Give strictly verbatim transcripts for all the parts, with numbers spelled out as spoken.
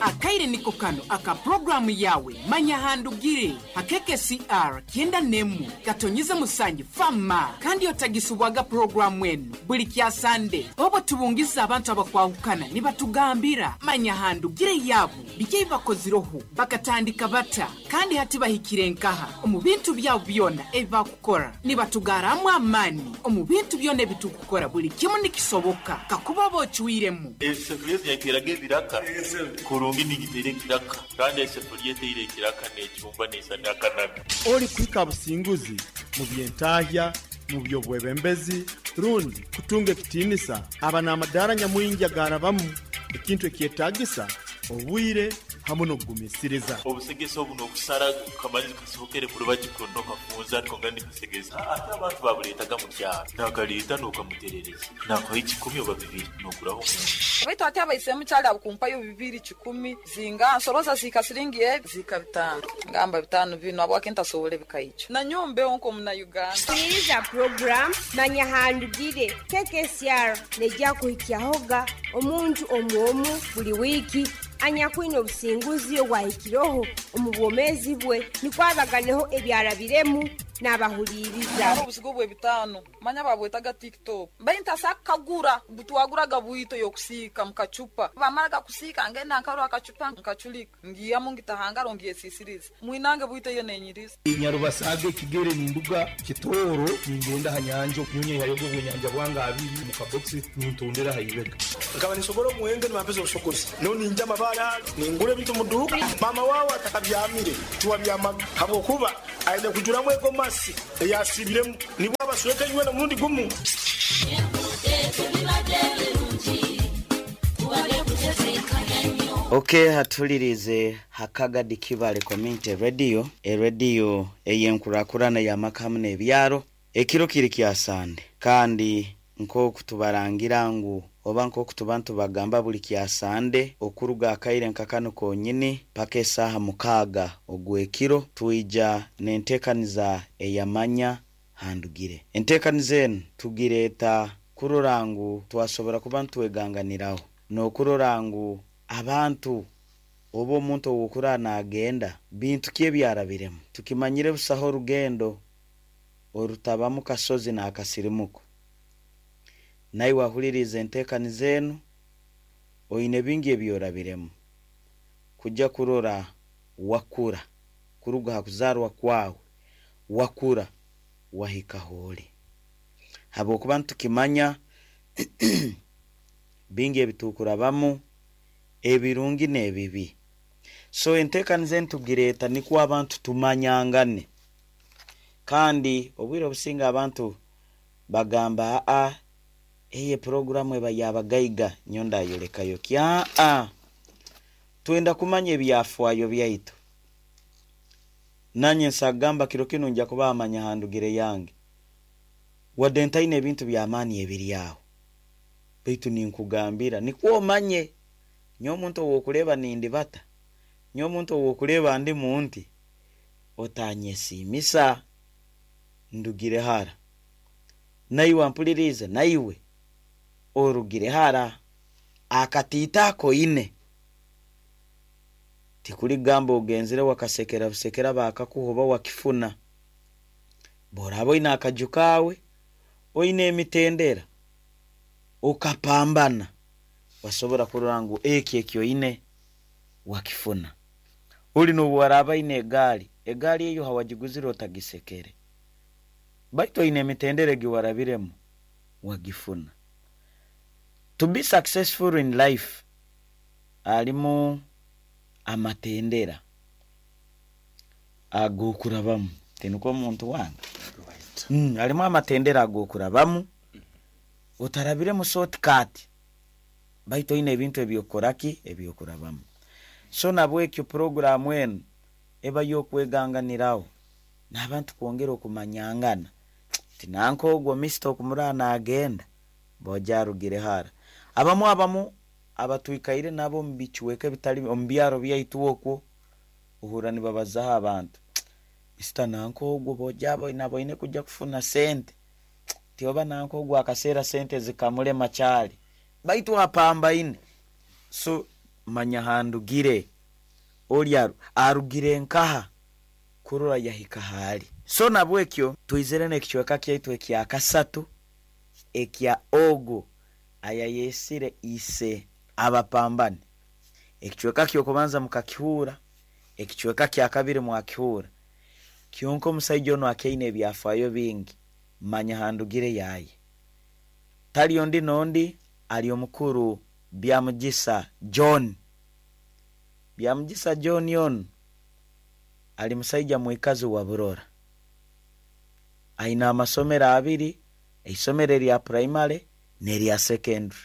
Akaire niko kano aka puroguramu yawe Manya Handugire hakeke C R kyenda nemu katonyize musangi fama kandi otagisubwaga puroguramu enu buli kya Sande obo tubungiza abantu abakwahukana nibatugambira Manya Handugire yabo biki bakoziroho bakatandika bata kandi hati bahikire nkaha omu bintu byabo byona ebibakukora nibatugaramu amani omu bintu byona ebitukukora buli kimu nikisoboka kakuba bochwiremu esefuriya yateraga ebiraka kurungi nigitere kiraka kandi esefuriya eteire kiraka n'ecumba n'esana akanaga Oli kwika businguzi mu byentahya mu byobwebembezi rundi kutunga ekitiinisa aba n'amadaara nyamwingi agarabamu ekintu ekyetagisa obwire hamwe n'okugumisiriza. Obusegesa obu n'okusara kamanyi kasohokere mu rubaju kuno kafunza ariko nga nikasegesa ate abantu babuleetaga mu kyaro nakaleeta n'okamuterereza nakuha ekikumi oba bibiri n'okuraho omuntu. Baitu ate abaisemu kyali abukumpayo bibiri kikumi zinga nsoroza zika siringi ebi zika bitano ngamba bitano bino abwake ntasobole bikaicho na nyombe onko muna Uganda. Sikiriza program Manya Handugire K K C R nejja kuhikyahoga omuntu omuomu buli wiki anyakwina obusinguzi obwahikiroho omu bwomezi bwe nikwabaganeho ebyarabiremu n'abahuliriza. Obusigo bwe bitano manya babwetaga TikTok bainta sakagura butwaguraga bwito yokusiika mukachupa bamaraga kusiika ngenda nkarwa akachupa nkachulika ngiyamu ngitahangaro ngiyesisiriza mwinange bwito yo nenyiriza. Nyarubasaga ekigere ninduga kitoro ningenda hanyanja nyunye yayogo bwenyanja bwanga abiri mu kabox nintondera hayibega nkaba nisobora omuwenge nibampeza obusogozi no ninja amabara ningura ebintu mu duka mama wawe atakabyamire tiwabyamaga habwokuba aine kujuramu egomasi eyasibiremu nibwo abasweka iwe na murundi gumu. Okay, hatulirize Hakagadi Kibale Community Radio, e radio eyenkurakurana ya makamu n'ebyaro ekiro kiri kya Sande kandi nko kutubarangira ngu oba nko kutubantu bagamba buli kya Sande okuruga akaire nkakano konyini paka esaha mukaaga ogwekiro tuija n'entekaniza eyamanya handugire. Entekaniza enu tugireta kurora ngu twasobora kuba ntweganganiraho n'okurora ngu abantu oba omuntu owokura nagenda bintu ki ebyarabiremu tukimanyire busaho orugendo orutabamu kasozi n'akasirimuko. Naye wahuliriza entekaniza enu oine bingi ebyorabiremu kujja kurora wakura kuruga hakuzarwa kwawe wakura wahika holi habwokuba ntukimanya bingi ebitukurabamu ebirungi n'ebibi. So entekaniza enu tugireta nikwo abantu tumanyangane kandi obwire obusinga abantu bagamba a eye programu eba yabagaiga nyonda yolekayo kya a twenda kumanya ebyafwayo byaitu. Nanye nsagamba kiro kino nja kuba amanya handugire yange wadde ntaine ebintu by'amaani ebiri awo baitu ninkugambira nikwo omanye nyo omuntu owokuleba nindi bata nyo omuntu owokuleba ndi munti otanyesiimisa ndugire hara naiwe ampulirize naiwe orugire hara akatiita koine tikuligamba ogenzere wakasekera busekera bakakuhoba wakifuna borabo ina akajukawe oine emitendera okapambana wasobora kurora ngu eki ekyo ine wakifuna. Uli nuwaraba ine egali egali eyo hawajiguzire otagisekere baitu ine emitendera giwarabiremu wagifuna. To be successful in life alimu amatendera agokurabamu tinuko omuntu wange Right. mm, alimu amatendera agokurabamu otarabire mu shortcut baitu ine ebintu ebyokoraki ebyokurabamu. So nabwekyo programu enu eba yokweganganiraho n'abantu kwongera okumanyangana tinanko ogwo mister okumurana agenda bojarugire hara abamu abamu abatwikaire nabo mu bichweke bitali omu byaro byaitu okwo uhura nibabazaho abantu mister nanko ogwo bojabo nabo ine kujja kufuna sente tioba nanko ogwo akaseera sente zikamulema kyali baitu apamba ine. So Manya Handugire oli arugire nkaha kurora yahika hali. So nabwekyo twizire n'ekicweka kyaitu ekya kasatu ekya ogu ayayesire ise abapambane. Ekicweka kyokubanza mukakihura, ekicweka kya kabiri mwakihura. Kyonka omusaija ono akyaine ebyafaayo bingi. Manya Handugire yaye tali ondi nondi ali omukuru Byamugisa John. Byamugisa John ono ali musaija mwikazi wa Burora, aina amasomero abiri, isomero erya primary n'erya secondary,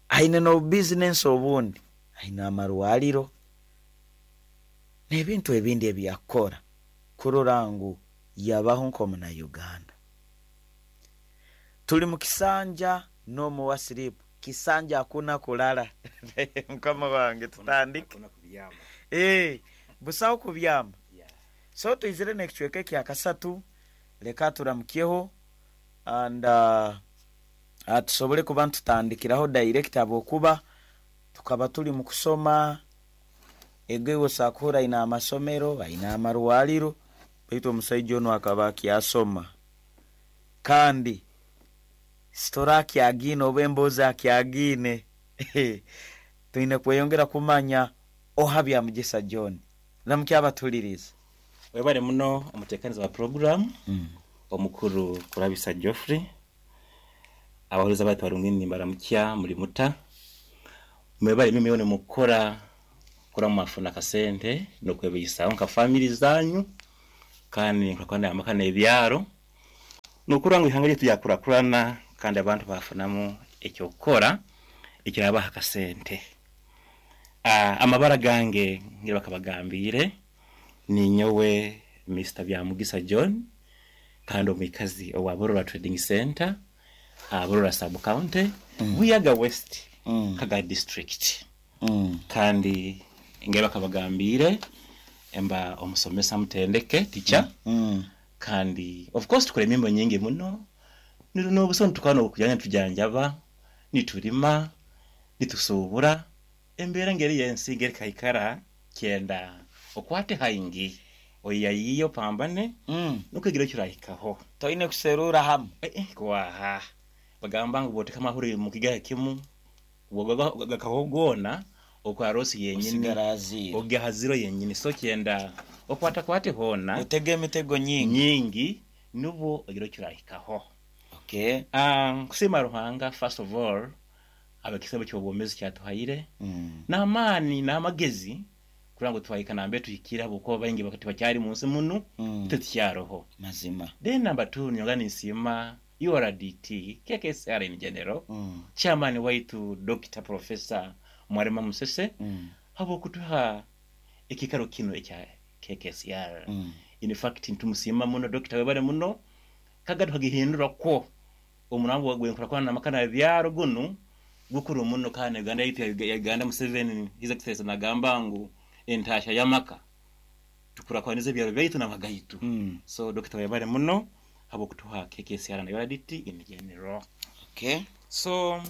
aine no business obundi, aina amarwaliro n'ebintu ebindi ebyakora kurora ngu yabaho nk'omuna Uganda. Tuli mu kisanja n'omuwa siripu kisanja hakuna kulala. Mukama wange tutandike eh busaho kubyama. So tuizire n'ekicweka ekya kasatu, leka turamukyeho and uh, tusobole kuba ntutandikiraho direct abokuba tukaba tuli mu kusoma egewo sakuhura ina amasomero aina amarwaliro, baitu omusaija ono akaba akyasoma kandi sitora akyagine oba emboozi akyagine. Twine kweyongera kumanya oha Byamugisa John. Ramukya abatuliriza. Webale muno omutekaniza wa program mm. omukuru Kurabisa Geoffrey, abahuriza batu barungini baramukya muri muta mwebale mimi yone mukora kora mafuna kasente no kwebisaho nka family zanyu kandi nkakwana amakana ebyaro nukura ngo ihanga ryetu yakurakurana kandi abantu bafunamu ekyo kukora ekirabaha kasente. Ah, amabara gange ngira bakabagambire ni nyowe Mister Byamugisa John kandi omwikazi owa Burora Trading Center, uh, Burora Sub County, mm. Buyaga West, mm. Kaga District. Mm. Kandi ngira bakabagambire emba omusomesa mutendeke teacher. Mm. Kandi of course tukore emimbo nyingi muno no busoni tukano kujanya tujanjaba niturima nitusubura embera ngeri yensi ngeri kaikara kyenda okwate haingi oyayiyo pambane mm. nukugira kirahikaho toine kuserura hamu eh, eh, kwaha bagamba ngo bote kama huri mu kigahe kimu gakahogona okwarosi yenyini ogahaziro yenyini so kyenda okwata kwate hona utege emitego nyingi nyingi nubo ogira kirahikaho. Okay. Um, kusima Ruhanga first of all abakisebo cyobomezi cyatuhaire mm. n'amani n'amagezi kurango twahika nambe tuhikira buko baingi bakati bacyari munsi munu mm. tutyaroho mazima. Then number two nyongani nsima U R D T K K S R in general mm. chairman waitu Doctor Professor Mwarema Musese mm. habo kutuha ekikaro kino ekya K K S R mm. In fact ntumusima muno Doctor webale muno kagadu hagihindura ko omurambo wagwe kwa namakana byaro gunu gukuru muno kana Uganda yitu ya Uganda Museveni His Excellency nagamba ngu entasha yamaka tukurakwanize byaro byaitu namagaitu mm. So Doctor webale muno habo kutuha K K S R na U R D T in general. Okay. So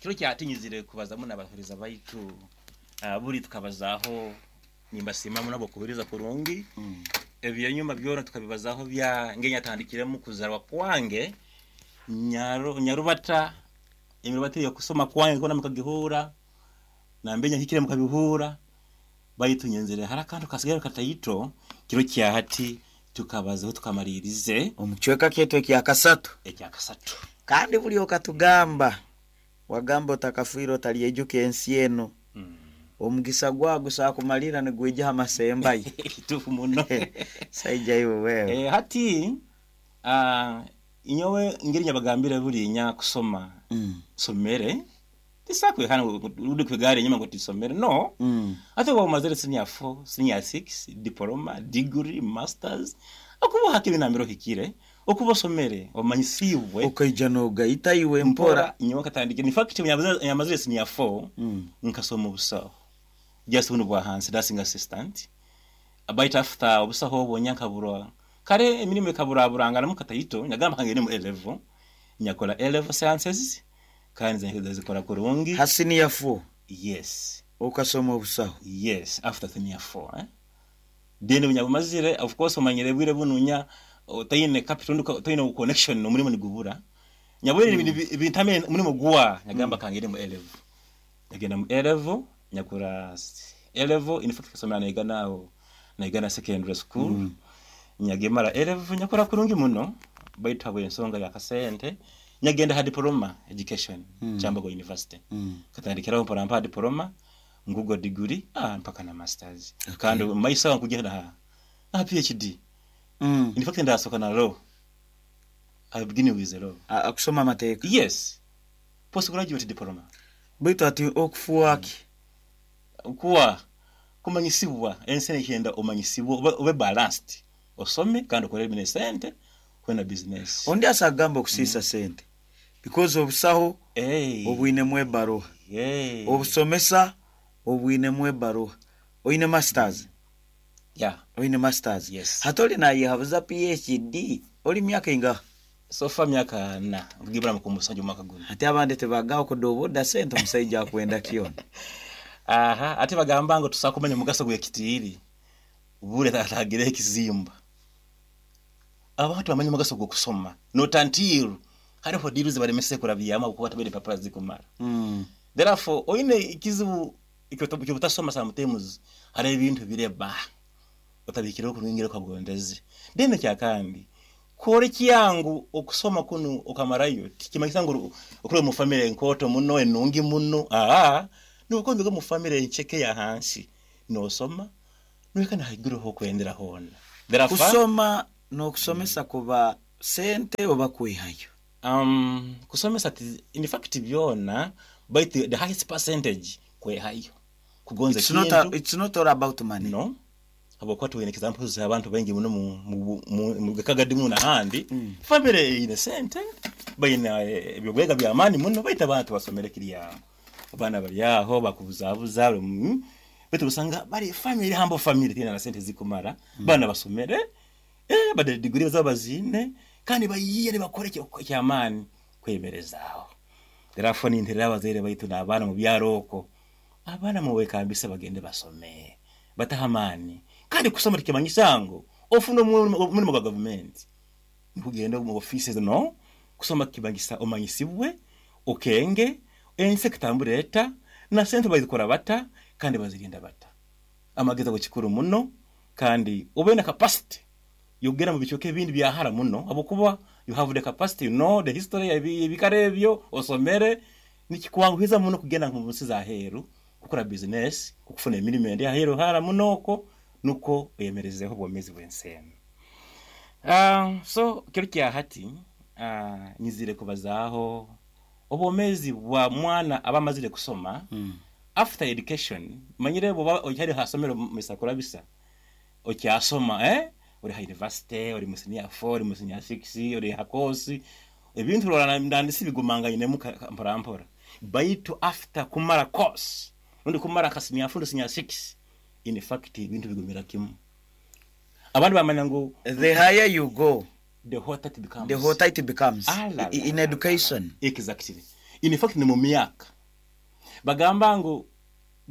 kiro kyatinyizire kubaza muno abahuriza baitu uh, buri tukabazaho nimbasima muno abo kubiriza kurungi mm. ebyo nyuma byona tukabibazaho bya ngenya tandikiremu kuzarwa kwange nyaro nyarubata imirubata yo kusoma kwange kona mukagihura nambenya hikire mukabihura baitu nyenzere harakantu kasigara katayito kiro kya hati tukabazaho tukamaririze omucweka kyetu ekya kasatu ekya kasatu kandi buli okatugamba wagamba otakafuira otalyejuka ensi eno mm. omugisa gwago sakumalira nigwija amasembayi kitufu muno saija iwe wewe eh, hati uh, inyowe ngeri nyabagambira buli nya kusoma mm. somere tisakwe hana udi kwegare nyuma ngo tisomere no mm. ate wa mazere senior four senior six diploma degree masters akubo hakiri na miro hikire okubo somere omanyisibwe okaija no gaita iwe mpora inyowe katandike in fact nyamazere senior four mm. nkasoma obusaho just bunu bwa hansi nursing assistant about after obusaho obonya nkaburwa kare emirimo ekaburaburanga namukatayito nyagamba kangene mu A level nyakola A level sciences kandi zikora kurungi ha senior four Yes. Okasoma obusaho. Yes, after senior four, eh? Then bunyabumazire, of course omanyire bwire bununya otaine capital, otaine connection n'omulimu nigubura. Nyabwire mm. bintame mulimu guwa nyagamba mm. kangere mu A level. Nyagenda mu A level, nyakura A level, in fact kasomera naigana aho naigana secondary school. Mm. Nyagemara A level nyakora kurungi muno baitu habwe ensonga ya kasente nyagenda ha diploma education mm. Kyambogo University. Mm. Katandikiraho mpora mpa diploma ngugo degree ah mpaka na masters. Okay. Kandi maisa kugenda ha na P H D. Mm. In fact ndasoka na law. I begin with the law. Akusoma amateeka. Yes. Postgraduate diploma. Baitu ati okufuaki. Mm. Kuwa kumanyisibwa ensene kyenda omanyisibwa ube, ube balanced. Osome kandi okore bine sente kwena business. Ondi asagamba okusisa mm. sente. Because obusaho hey. obwine mwebaruha. Hey. Obusomesa obwine mwebaruha. Oine masters. Yeah. Oine masters. Yes. Hatoli na yehabuza P H D. Oli myaka inga? So far myaka na kugibra mukumusanja mwaka guno. Ate abandi tebagaho kudoboda sente omusajja akwenda kiona. Aha, ate bagamba ngo tusakumenya mugaso gwekitiiri. Bure atagire ekizimba. Abantu bamanye mugaso gwo kusoma. Not until hariho diruzi balemese kurabyama kuko batabere papara zikumara. Mm. Therefore oine ikizibu ikyo sometimes hari ebintu bireba. Otabikira okurungira kwagondeze. Dene kyakandi kore kiyangu okusoma kunu okamarayo tikimanyisa ngo okure mu family enkoto muno enungi muno ah nuko ndiko mu family encheke ya hansi no soma nuka nahiguru ho kwendera hona. Therefore kusoma no kusomesa mm. kuba sente oba kwihayo. Um kusomesa in fact byona but the, the highest percentage kwehayo kugonza it's not a, it's not all about money. No. Abo tuwene examples abantu bengi muno mu mu kagadi mu nahandi mm. family ine sente bayina ebyobwega bya amani muno baita abantu basomere kiriya abana bali aho bakubuzabuza mm. betu usanga bali family hambo family tina na sente zikumara mm. bana basomere eh bade degree zabazine kandi bayiye bakore cyo amani kwemerezaaho. Therefore ni nterera abazere baitu nabana mu byaroko abana mu wekambisa bagende basome batahamani kandi kusoma tikimanyisango ofuno mulimo gwa government nkugenda mu offices no kusoma kibangisa omanyisibwe okenge ense kitambureta na sente bazikora bata kandi bazirinda bata amageza go kikuru muno kandi ube na capacity yogera mu bichoke bindi byahara muno abokuba you have the capacity, you know the history ebikarebyo osomere nikikwanguhiza muno kugenda mu nsi za heru kukora business kukufuna emirimo ya heru hara munoko nuko oyemerezeho bwomezi bwensene. Uh, so kiro kya hati uh, nyizire kubazaho obwomezi bwa mwana abamazire kusoma mm. after education manyire bo okyari hasomero misakura bisa okyasoma eh uri ha university uri mu senior four uri mu senior six uri ha course ebintu rora ndandisi bigumanganye mu mpora mpora baitu after kumara course undi kumara ka senior four senior six in fact ibintu bigumira kimu abantu bamanya ngo the higher you go the hotter it becomes, the hotter it becomes ah, la, la, in la, education. Exactly. In fact ni mu myaka bagamba ngo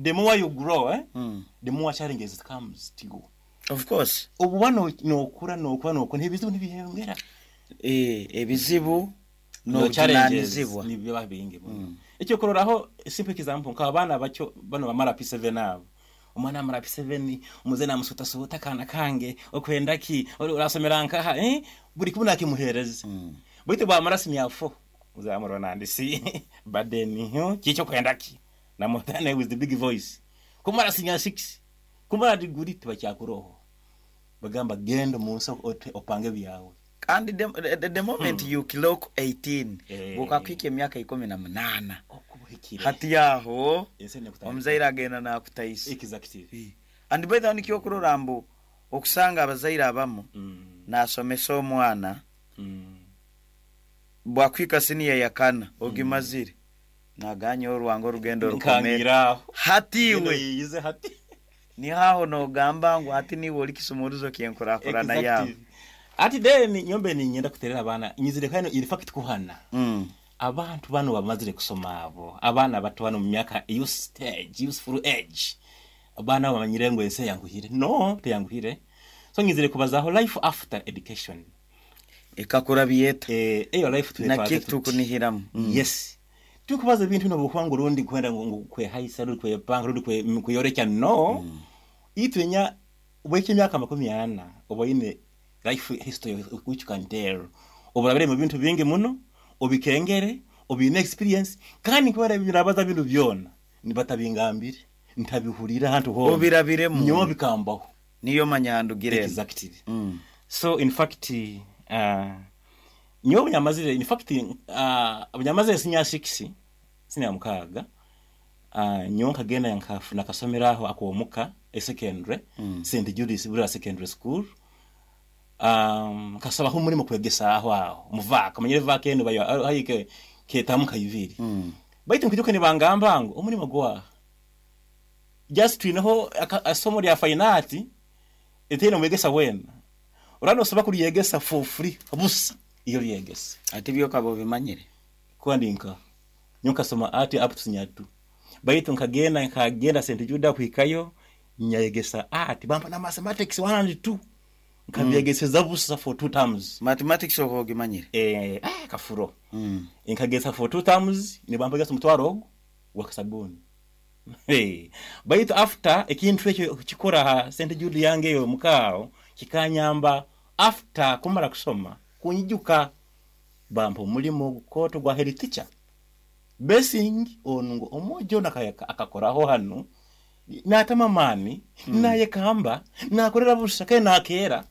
the more you grow eh mm. the more challenges comes to you. Of course obubano no kura no kuba no ntibizibu ntibihengera eh ebizibu no, no challenges tunanizibwa nibyo babinge mm. Icyo kororaho simple example nka abana bacyo bano bamara P seven abo umwana amara P seven umuze namusuta suta kana kange okwenda ki urasomera nkaha eh buri kumwe nakimuhereza mm. Bwite bwa senior four uzamurona nandisi badeni ho kicyo kwenda ki namutane with the big voice kumara senior six kumara degree tibacyakuroho bagamba genda munsi opange byawe kandi the, the, the moment hmm. you clock eighteen eh. bukakwika emyaka ikumi na munana hati yaho omuzaire agenda nakutaisa. Exactly. And by the way nikyo kurora mbu okusanga abazaire abamu mm. nasomesa omwana mm. bwakwika senior yakana ogimazire mm. naganya orwango orugendo rukomere hatiwe yize hati ni haho nogamba ngo hati niwe ori kisumuruzo kyenkurakurana yawe Ati then nyombe ni nyenda kuterera abana nyizire kano in fact kuhana. Mm. Abantu bano bamazire kusoma abo abaana bato bano mu myaka youth stage, youthful age, abaana bamanyire ngu ensi eyanguhire. No, teyanguhire. So ngizire kubazaho life after education. Ekakura byeta. Eh, eyo life nakyo tukunihiramu. Mm. Yes. Tukubaza ebintu nobuhwangu rundi kwenda ngu kwehaisa rundi kwepanga rundi kwe kweyorekya no. Mm. Itwenya ubweke emyaka makumi ana oboine life history which you can tell. Oburabire mu bintu bingi muno, obikengere, obine experience, kandi kwera birabaza bintu byona nibatabingambire, ntabihurira hantu ho. Obirabiremu. Nyo bikambaho. Niyo manyandugire. Exactly. Mm. So in fact uh, nyo bunyamazire in fact uh, bunyamazire senior six senior mukaga uh, nyo nkagenda nkafuna kasomeraho akwomuka e secondary mm. Saint Judas Bura Secondary School. Um kasaba ho muri mu kwegesa aho aho muvaka manyere vaka eno bayo hayike ketamuka yiviri mm. Baitu nkijuka ni bangamba ngo omurimo gwa just twinaho asomo lya finance eteno mwegesa wena urano soba kuliyegesa for free busa iyo liyegesa ati byo kabo bimanyire kwandinka nyoka soma ati up to senior two baitu nkagenda nkagenda Saint Juda kuhikayo nyayegesa ati bamba na mathematics one and two nkabyegesa busa for two terms. Mathematics okogimanyire eh ah kafuro mm. Nkagesa for two terms ni bamba gesa mutwaro wa kasabuni. Hey, baitu after ekintu ekyo kikora ha Saint Jude yange yo mukao kikanyamba after kumara kusoma kunyijuka bampa omulimo gukoto gwa head teacher basing onungo omojo nakayaka akakoraho hano natama mani mm. naye kamba nakorera busa ke nakera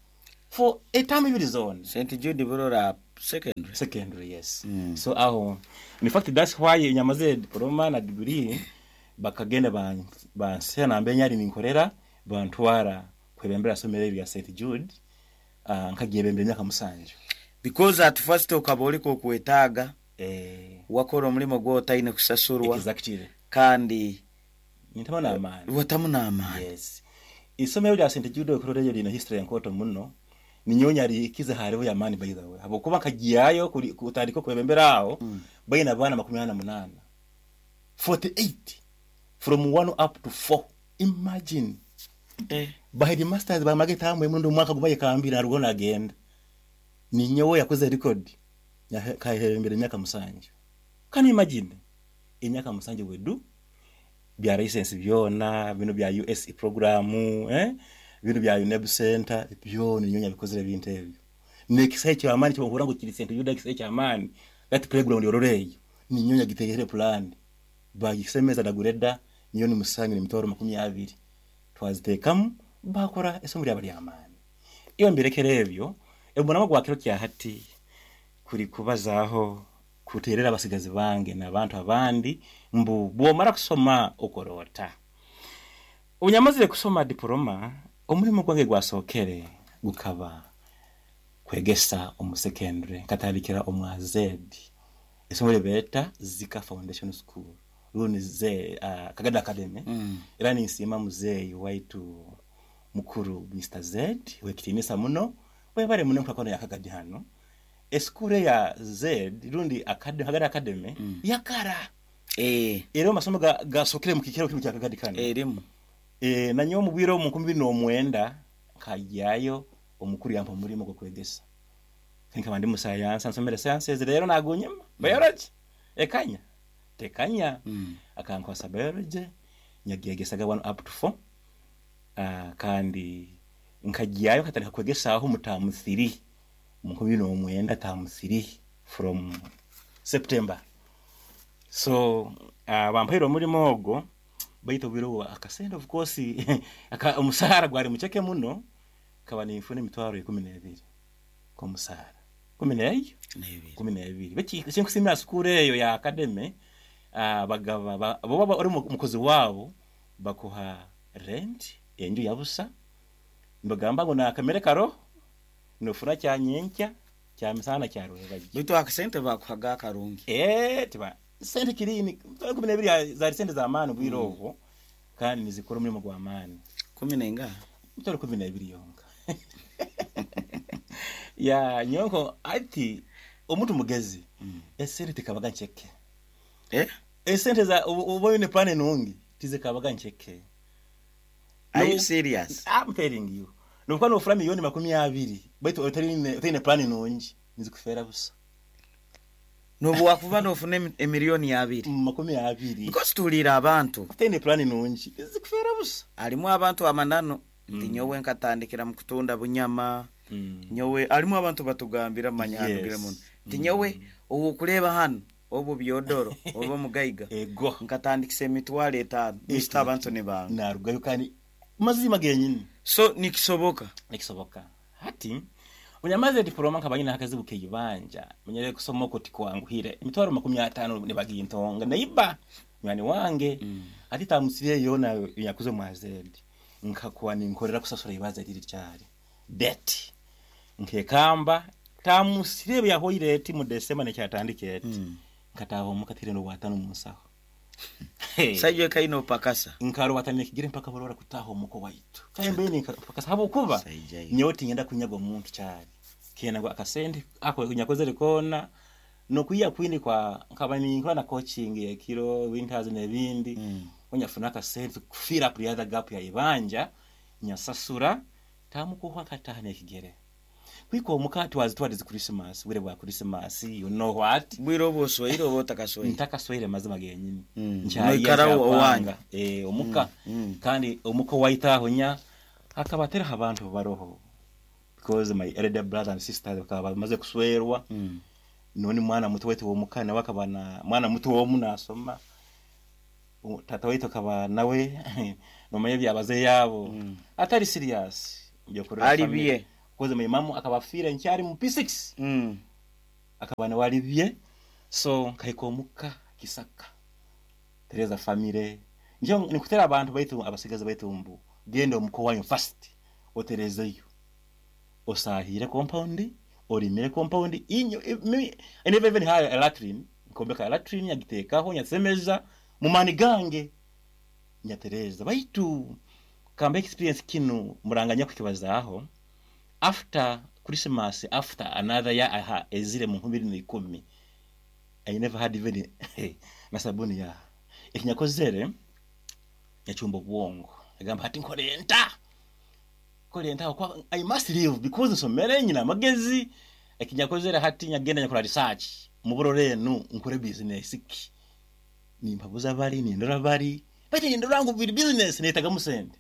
for a time ibiri zone. Saint Jude Burora secondary secondary yes. Mm. So aho in fact that's why nyamaze diploma na degree bakagenda ban bansena nambe nyari ninkorera bantwara kwebembera somero lya Saint Jude uh, nkagiye myaka musanju because at first okaboliko kwetaga eh wakora omulimo gwo taine kusasurwa. Exactly. Kandi nitamana amani watamuna amani. Yes. Isomero lya Saint Jude okuroreyo lina history yankoto muno ninyonya likize hariho ya mani by the way abokuba kagiyayo kutandika kwebembera aho mm. bayina bana makumi ana munana forty-eight from one up to four. Imagine. Eh. By the masters ba mageta amwe mundo mwaka gubaye kambira rugona agenda. Ninyowe yakoze record ya kahembere myaka musanju. Can you imagine? Imyaka musanju wedu bya license byona bino bya U S program eh bino bya UNEB center byona ninyonya bikozere bintu ebyo. Nekisai cyo amani cyo nkura ngo kiri center yuda kisai cyo amani that playground yororeyo ninyonya gitegere plan bagisemeza dagureda niyo ni musanyu ni makumi abiri twazitekamu bakora esomo lyabali amani. Iyo mbirekere ebyo ebona magwakiro kya hati kuri kubazaho kuterera abasigazi bange n'abantu abandi mbu bomara kusoma okorota. Unyamazire kusoma diploma omulimo gwange gwasokere gukaba kwegesa omu secondary katandikira omwa Z esomo beta Zika Foundation School runi ze uh, Kagada Academy. Mm. Era ninsima muzeyi waitu mukuru Mister Z wekitinisa muno webare muno nkakono yakagadi hano eskure ya Z rundi Academy Kagada Academy. Mm. Yakara eh ero masomo ga gasokere mu kikero kintu kyakagadi kano erimu eh nanyo mubwiro mu nkumi no mwenda kajayo omukuru yampa mulimo gwo kwegesa nka ndi mu science nsomere sciences rero nagunyema biology ekanya tekanya. Mm. Akankwasa biology nyagiyegesaga one up to four uh, kandi nkagiyayo katandika kwegesa aho mutamu three mu nkumi no mwenda tamu three from September. So uh, bampaire omulimo ogwo baito biro akasenda of course aka omusahara gwari mucheke muno kaba nifune emitwaro ikumi n'ebiri ko musahara kumi n'eyo kumi n'ebiri beki kinkusimira sukuru eyo ya academy uh, bagaba bo baba ori mukozi wabo bakuha rent enju yabusa mbagamba ngo na kamere karo nofuna kya nyenkya kya misana kya rubaji bitu akasente bakuhaga karungi eh tiba sente kirini kumi n'ebiri za sente za mani bwiroho mm. Kandi nizikora umurimo gwa mani kumi n'enga mutoro kumi n'ebiri yonka ya nyonko ati omuntu mugezi mm. Esente tikabaga ncheke eh esente za uboyo ne plan nungi tizikabaga ncheke. Are no, you serious? I'm telling you. Nukuwa nofura milioni makumi abiri baitu otari otari plan nungi nizikufera busa. Nobu wakuva nofuna emiliyoni abiri makumi abiri because tulira abantu otari plan nungi nizikufera busa. Alimu abantu amanano nti nyowe nkatandikira mu kutunda bunyama mm. Nyowe alimu abantu batugambira manya yes. Hantu muno nti nyowe ubu kureba hano obu byodoro obu mugaiga ego nkatandikisa emitwalo etano misita abantu ne bantu narugayo kandi mazima genyini. So nikisoboka nikisoboka hati unyamaze diploma nkabanyina hakazibu keyibanja menyere kusoma ko tikwanguhire emitwalo makumi atano nibagintonga naiba nywani wange mm. Ati tamusiriye yona yakuze mwazedi nkakuwa ninkorera kusasura ibaza riri cyari debt nkekamba tamusiriye yahoire eti mu December necyatandike eti mm. Nkataho mukatire no watano musaho hey. Sayo kaino pakasa nkaro watane kigire mpaka borora kutaho muko waitu kayembe ni pakasa habo kuba nyoti ngenda kunyagwa muntu cyari kena ngo akasende ako nyakoze rekona no kuya kwini kwa nkaba ni nkora na coaching ya kiro winters nebindi mm. Onyafuna akasende kufira up the other gap ya ibanja nyasasura tamukuhwa katahane kigere kwiko mukati wazitwaliza Christmas wire bwa Christmas you know what bwiro boswaire oba otakaswaire ntakaswaire mazima genyini mm. Noikara owanga eh omuka mm. Mm. Kandi omuko waitaho nya akabatera abantu baroho because my elder brother and sister bakaba bamaze kuswerwa mm. None mwana muto wetu omuka nawe akabana mwana muto wo munasoma tata wetu akaba nawe nomanye byabaze yabo mm. Atari serious ali biye koze my mamu akabafira nkyari mu P six mm. Akabana walibye so nkayikomuka Kisaka Tereza family njo nikutera abantu baitu abasigaza baitu mbu genda omuko wanyu first oterezeyo osahire compound orimire compound inyo me, I never even had a latrine nkombeka latrine yagitekaho nyasemeza mu mani gange nyatereza baitu kamba experience kinu muranganya kukibazaho after Christmas after another year aha ezire mu nkubiri na ikumi I never had even na sabuni ya ekinyakozere yachumba bwongo agamba hati nkorenta nkorenta kwa I must live because nsomere nyina amagezi ekinyakozere hati nyagenda nyakora research mu burore nu nkore business ki nimpabuza bari nindora bari bati nindora ngo business netaga musende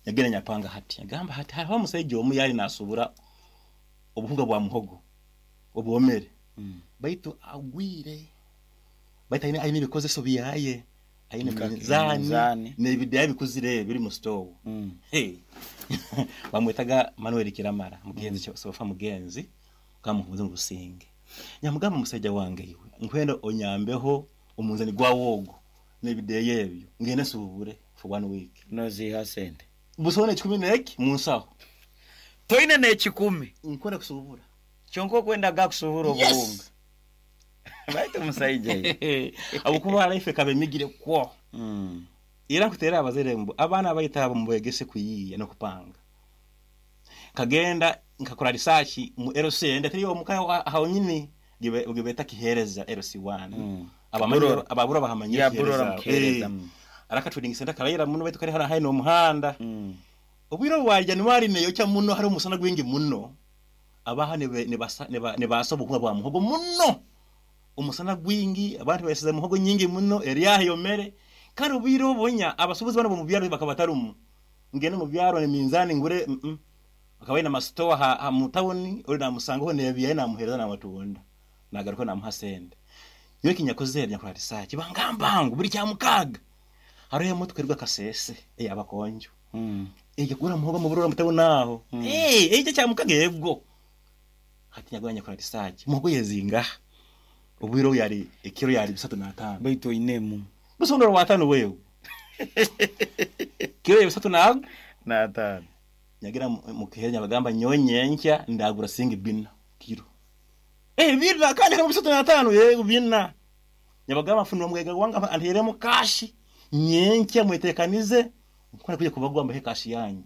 yagenda nyapanga hati agamba hati hariho musaije omu yali nasubura obuhunga bwa muhogo obwomere mm. Baitu agwire baitu aine aine bikozeso biyaye aine minzani n'ebidaye bikuzire biri mu store mm. Hey bamwetaga Manuel Kiramara mugenzi mm. Sofa mugenzi kamuhuze mu businge nyamugamba musaija wange iwe nkwenda onyambeho omunzani gwa wogo n'ebidaye ebyo ngene subure for one week noziha sente busone chikumi neki munsaho toine ne chikumi nkora kusubura chonko kwenda ga kusubura yes. Obuhunga baitu musaije abukuba life kabe migire kwo mm. Ira kutera abazere mbu abana bayitabo mubegese kuyiya no kupanga kagenda nkakora research mu L C ndatiri omukayo aho nyini gibeta kihereza L C one mm. Abamanyiro ababura bahamanyira kihereza mm. Araka trading center karayira muno baitu kari hara haino muhanda mm. Obwiro wa January neyo cha muno hari umusana gwingi muno abaha ne ne baso bukuba bwa muhogo muno umusana gwingi abantu basize muhogo nyingi muno eriya yomere kandi obwiro bonya abasubuzi bano mu byaro bakabatarumu ngene mu byaro ne minzani ngure mm -mm. Akabaye na mastoa ha, ha mu town uri namusangaho ne biyaye namuhereza namatunda nagaruko namuhasende yo kinyakoze nyakora research bangambangu buri cya mukaga hariho mutwe rwa kasese eh abakonjo mm eh gura muhogo mu burora mutawo naho mm. eh eh cya mukagebwo hati nyagwanya kora research muhogo yezinga ubwiro yari ekiro yari bisatu na atano baitu inemu busondoro wa atano wewe kiro bisatu na na atano nyagira mukihenya bagamba nyonyencha ndagura singi bina kiro eh bina kandi kama bisatu na atano yego bina nyabagamba afunwa mwega wanga anteremo kashi nyencha mwetekanize nkora kuje kubagwa mbahe kashi yanyu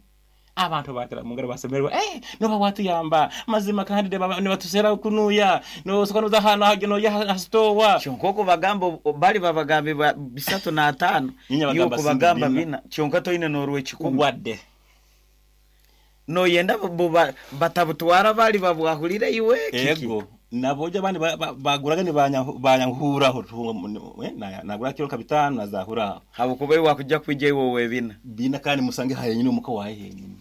Abantu batera mungaro basemerwa, eh noba watuyamba mazima kandi nibatusera kunuya no soka hano hageno ya hastowa. Kyonka bagamba bali babagambe bisatu na atano yuko bagamba bina kyonka toine norwe kikumi wadde no yenda batabutwara bali babwahulire iwe kiki ego naboja abandi baguraga ni banyankuraho nagura kilo kabitano nazahura habukuba wakujja kwijja iwe webina bina kandi musange hayenyine umuko wahe henyine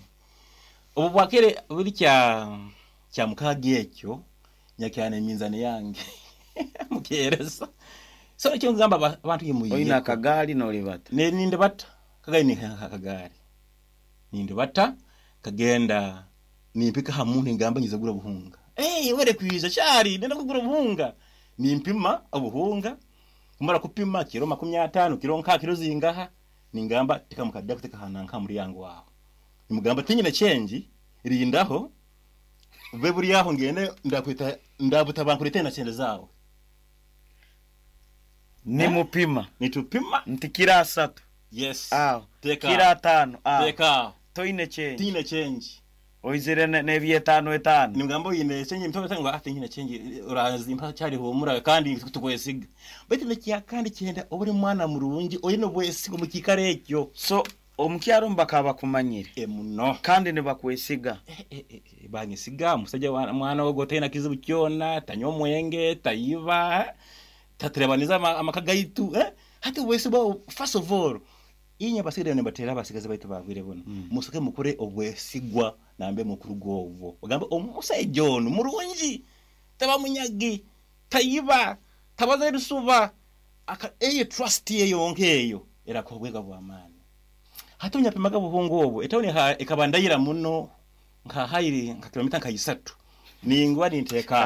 obu bwakere buri kya kya mukagi ekyo nyakyane eminzani yange mukereza so ekyo ngamba abantu yimuyiye oyina kagali nolibata ne ninde bata kagali ni kagali ninde bata kagenda nimpika hamuntu ngamba ngize gura buhunga eh were kwiza cyari nenda kugura buhunga nimpima obuhunga kumara kupima kilo makumi atano kilo nka kilo zingaha ningamba tika mukadda kuteka hananka muri yango waho nimugamba tinyine change rindaho ube buri yaho ngende ndakwita ndabuta na chende zawe nimupima nitupima nti kira asatu yes aho teka kira atano aho teka toine change tine change oizire ne etano etano nimugamba oyine change mtoto tangwa ati nyine change urazimpa cyari humura kandi tukwesiga beti nekiya kandi cyenda oburi mwana murungi oyine bwesigo mu kikarekyo so omukyaro mbakaba kumanyire e muno kandi ne bakwesiga e, e, e, banyesiga musajja mwana wo gotena kizibu kyona tanywa mwenge tayiba tatirebaniza amakagaitu eh hati bwesiba first of all inya basigire ne batera basigaze baitu bagwire bono mm. Musoke mukore obwesigwa nambe mukuru govo ogambe omusajja ono murungi taba munyagi tayiba tabaza rusuba aka eye trust ye yonkeyo era kobwega bwamani hati unyapimaga buhungu obwo etawuni ekabandayira muno nka hayiri nka kilomita nka isatu ningwa ninteka